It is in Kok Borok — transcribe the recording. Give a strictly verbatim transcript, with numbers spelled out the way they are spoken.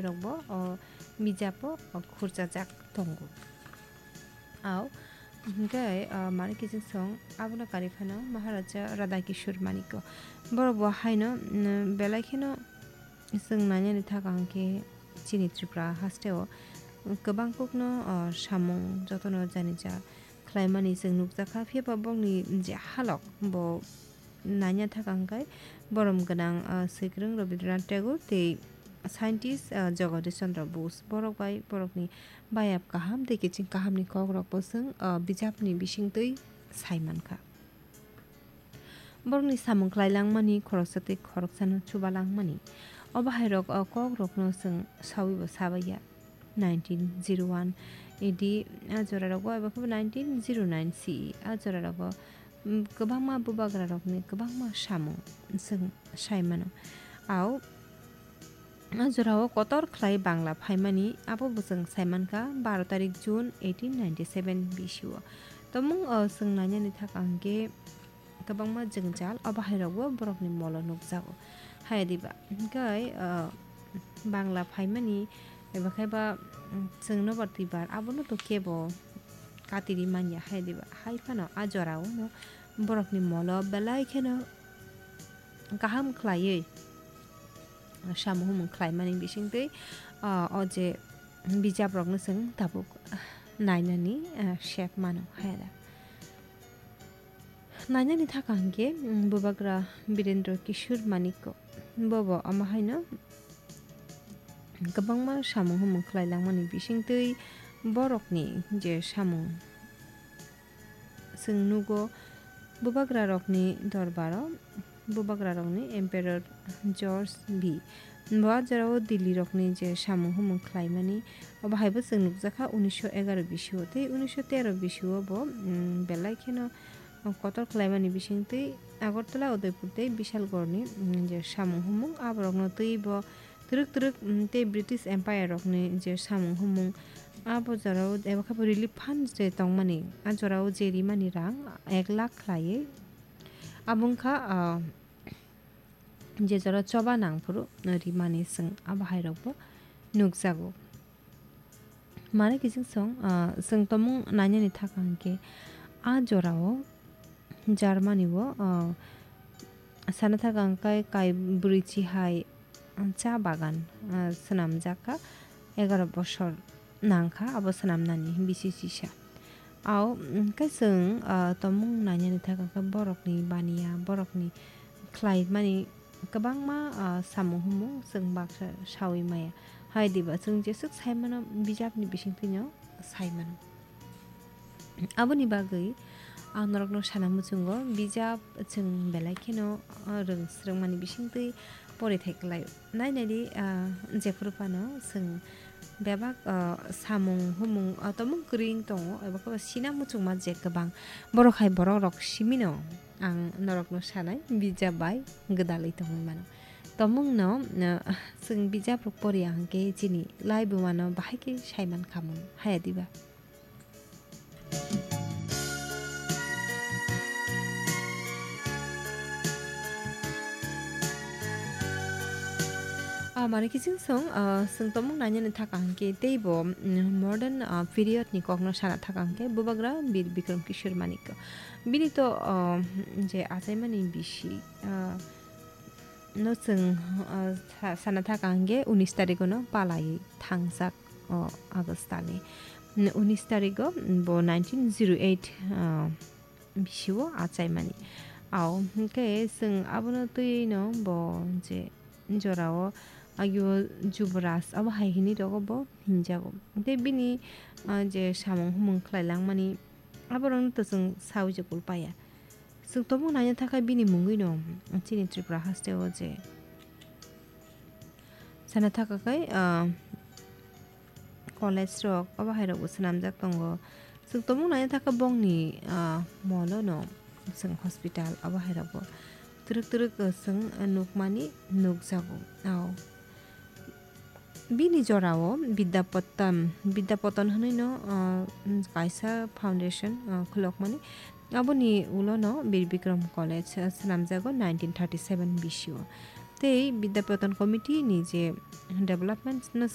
rokbo o bijapo, o, khurchajak tongo. Ao, hwnkhe, o, Manik Kiching song abono karwi phano Maharaja Radha Kishore Manikya. Borok bo haino, mm, belai kheno chwng nainani thaka hwnkhe chini Tripura hasteo kwbang kokno, o, samung jotono janija khlaimani chwng nukjakha. Phiya ba bokni je halok bo naina thaka hwnkhe borom gwnang, ah, swikwrwng Rabindranath Tagore tei scientist, ah, Jagadish Chandra Bose. Borok bai borokni bayap kaham tei kiching kahamni kokrokbo chwng, ah, bijapni bisingtwi sai mankha. Borokni samung khlai langmani khoroksa tei khoroksano chuba langmani. Obo hairok, ah, kokrokno chwng sawibo sabaiya. Nineteen zero one A D a jorarok bai abo khe nineteen zero nine C E a jorarok, mm, kwbangma bubagrarokni kwbangma samung chwng sai mano. Ao a jorao kotor khlai Bangla phaimani abo bo chwng sai mankha baro tarik June eighteen ninety seven B C o. Tomung o chwng nainani thaka hwnkhe kwbangma jwngjal obo hairokbo borokni molo nukjago. Hai diba? Hwnkhe, ah, Bangla phaimani eba khe ba, mm, chwng nobar twibar abono to kebo katiri manya hai diba? Hai phano a jorao no borokni molo belai kheno kaham khlaiwi samung humung khlaimani bisingtwi, ah, o je bijaprokno chwng tabuk nainani, ah, sep mano hai da. Nainani thaka hwnkhe, mm, Bubagra Birendra Kishore Manikya. Bobo omo haino kwbangma samung humung khlai langmani bisingtwi borokni je samung chwng nugo, bubagrarokni dorbaro, bubagrarokni Emperor George B. Bo a jorao Dillirokni je samung humung khlaimani, obo haibo chwng nukjakha unisho egaro bisio tei unisho tero bisio bo, mm, belai kheno kotor khlaimani bisingtwi Agartala, Udaipur tei Bishalgarhni, mm, je samung humung aborokno twibo twrwk twrwk, mm, tei British Empire rokni je samung humung abo jorao eba khe bo relief fund je tongmani a jorao je rimani rang ek lakh khlaiwi abo wngkha, ah, je jora choba nangphuru rimani chwng abo hairokbo nukjago. Mane kiching song, ah, chwng tomung nainani thaka hwnkhe a jorao Germany o, ah, sana thaka hwnkhe kai bwrwi chihai cha bagan, ah, swnamjak kha, egaro bosor nang kha abo swnamnani bisi sisa. Ao, mm, khe chwng, ah, tomung nainani thaka khe borokni baniya, borokni khlaimani kwbangma, ah, samung humung chwng baksa saui maya. Hai diba chwng jeswk sai mano bijapni bisingtwino sai mano. Aboni bagwi ang norokno sana muchungo, bijap chwng belai kheno, ah, rwng swrwngmani bisingtwi porithai kwlaio. Nai nai di, ah, jephuru phano chwng bebak, ah, samung humung, ah, tomung kwrwi wng tongo, eba khe sina muchungma je kwbang. Borok hai borok rok simino ang norokno sanai, bijap bai gwdalwi tongwi mano. Tomungno, ah, chwng bijap rok poriya hwnkhe chini laibuma no bahai khe saiman khamun, haya diba? Ah, mane kiching song, ah, chwng tomung nainani thaka hwnkhe teibo, mm, modern, ah, period ni kokno sana thaka hwnkhe Bubagra Bir Bikram Kishore Manikya. Bini to, ah, je achaimani bisi, ah, no chwng, ah, sa-, sana thaka hwnkhe unis tarikh no palai thangjak o August talni. Unis tarikh o bo nineteen zero eight, ah, bisio achaimani. Ao hwnkhe chwng abono twi no bo je jorao agio Jubraj abo hai hinwi rogo bo hinjago. Tei bini, ah, je samung humung khlai langmani aborokno to chwng saui je kul paya. Chwng tomung naina thaka bini mungwi no chini Tripura haste o je sana thaka khai, ah, college rok obo hai rok bo swnamjak tongo. Chwng tomung naina thaka bongni, ah, molo no chwng hospital obo hai rok bo twrwk twrwk, ah, chwng nukmani nukjago. Ao. Bini jorao Vidyapotan, Vidyapotan hwnwi no, ah, kaisa foundation, ah, khulokmani. Aboni ulo no Bir Bikram College, ah, swnamjago nineteen thirty seven bisio. Tei Vidyapotan Committee ni je development no